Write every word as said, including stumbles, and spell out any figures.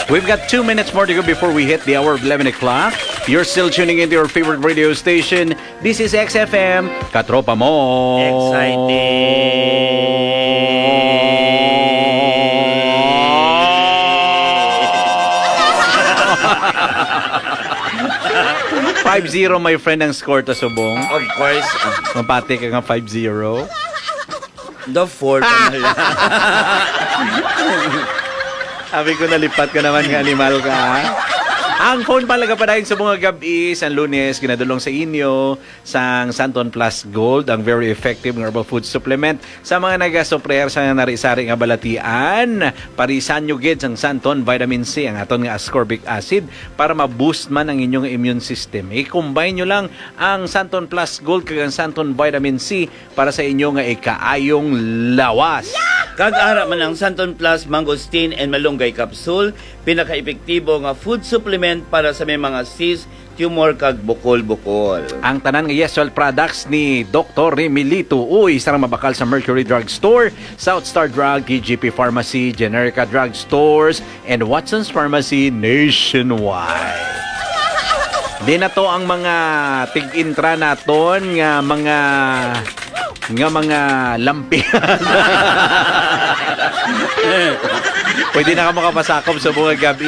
We've got two minutes more to go before we hit the hour of eleven o'clock. You're still tuning into your favorite radio station. This is X F M, Katropa Mo. Exciting. Five zero, my friend, ang score ta subong. Of course. Ah. Mapati ka nga five zero. The four pa na lang. Sabi ko, nalipat ka naman nga animal ka, ha? Ang phone pa nagapadayon sa mga gabi sa Lunes, ginadulong sa inyo sang Santon Plus Gold, ang very effective nga herbal food supplement sa mga nagasuffer sa nari-sari nga balatian. Parisan nyo gid sang Santon Vitamin C, ang aton nga ascorbic acid, para ma-boost man ang inyong immune system. I-combine nyo lang ang Santon Plus Gold kag ang Santon Vitamin C para sa inyo nga ikaayong lawas. Kag ara man ang Santon Plus Mangosteen and Malunggay Capsule, pinaka-epektibo nga food supplement para sa may mga cyst, tumor kag bukol-bukol. Ang tanan nga Yes Well products ni Doktor Remilito Uy, sarang mabakal sa Mercury Drug Store, South Star Drug, T G P Pharmacy, Generica Drug Stores, and Watson's Pharmacy nationwide. Di na to ang mga tig-intra naton nga mga nga mga lampihan. Pwede na ka makapasakop sa buong gabi.